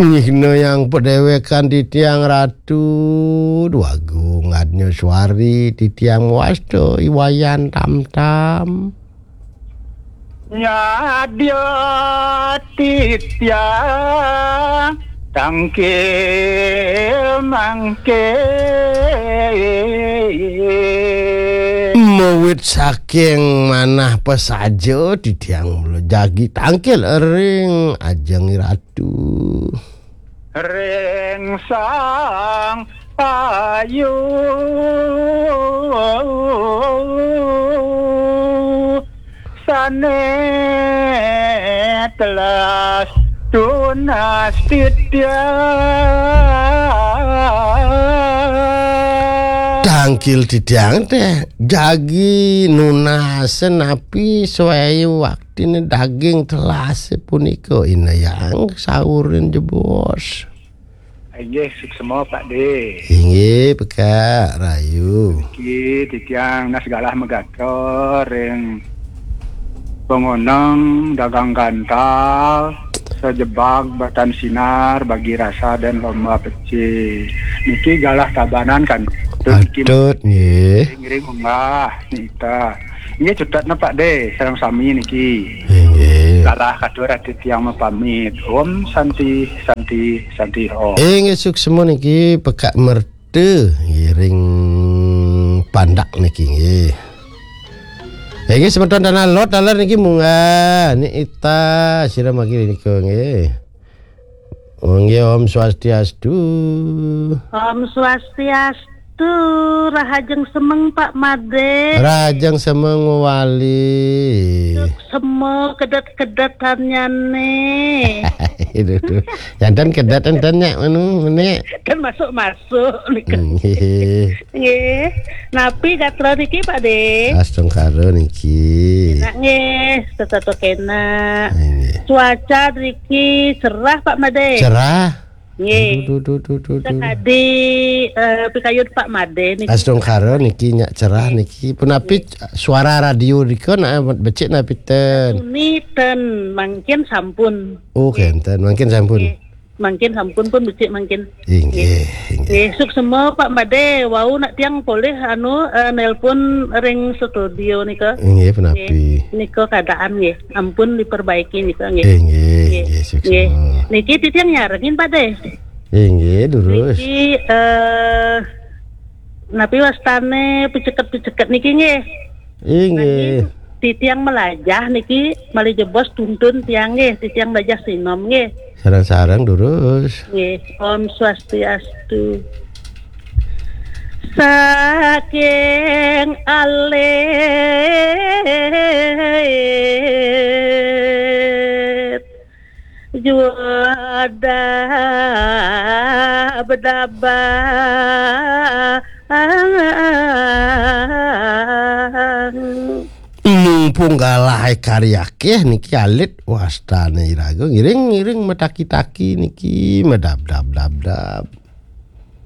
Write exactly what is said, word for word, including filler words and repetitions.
Nyihna yang padéwékan titiang Ratu, dwagung adnya suari titiang mawasta I Wayan Tamtam. Nyadya titiang tangkil mangkin. Mawit saking manah pasaja titiang mula jagi tangkil ring ajeng I Ratu. Ring Sang Ayu sané telas tunas titiang. Tangkil titiang téh jagi nunas napi swayu waktine daging telas punika, Inayang, saurin jebos. Inggih, suksma, Pak De. Inggih, pekak rayu. Niki titiang nunas galah megatra ring pangoneng dagang gantal, sajebag batan sinar, bagi rasa dan lomba pecih. Niki galah tabanan kan? Patut, nggih. Ngiring munggah, nita. Nggih, cutetna, Pak De, sareng sami niki. Inggih. Galah katur ati tiang mapamit. Om Santi, Santi, Santi Om. Inggih, suksma niki pekak merta ngiring pandak niki, nggih. Inggih, semeton Tanah Lot, taler niki munggah. Ni ita, sira magi nika, nggih. Nggih, Om Swastiastu. Om Swastiastu, rahajeng semeng, Pak Made. Rahajeng semeng wali. Sema kedet-kedetannyane. Itu tuh. Jantan kedet enten nyak menu, menek. Kan masuk-masuk nika. Hmm, nggih. Nggih. Napi gatra niki, Pak De? Astungkara niki. Enak nggih, tetep enak. Nggih. Cuaca niki cerah, Pak Made. Cerah. Nggih. Duh, duh, duh, duh, duh, duh. Sakadi, eh, pikayun Pak Made niki. Astungkara niki nyak cerah niki. Punapi suara radio rika nak becik napi ten? Puniten mangkin sampun. Oh, nggih. Kenten, mangkin sampun. Nggih. Mangkin sampun pun becik mangkin. Inggih, inggih. Nggih, suksma Pak Made, wau nak tiang polih anu, eh, nelpon ring studio nika. Inggih, punapi? Nggih, nika keadaan nggih. Ampun diperbaiki nika nggih. Inggih, nggih, suksma. Nggih. Niki titiang nyarengin Pak De. Inggih, durus. Niki, eh, napi wastane piceket-piceket niki nggih? Inggih. Nanging titiang melajah niki malih jebos tuntun tiang nggih, titiang melajah sinom nggih. Sareng-sareng durus. Nggih, Om Swastiastu. Saking alit juada bedabang. Mumpung galah karya akeh niki alit wastane iraga ngiring-ngiring mataki-taki niki medab-dab-dab-dab.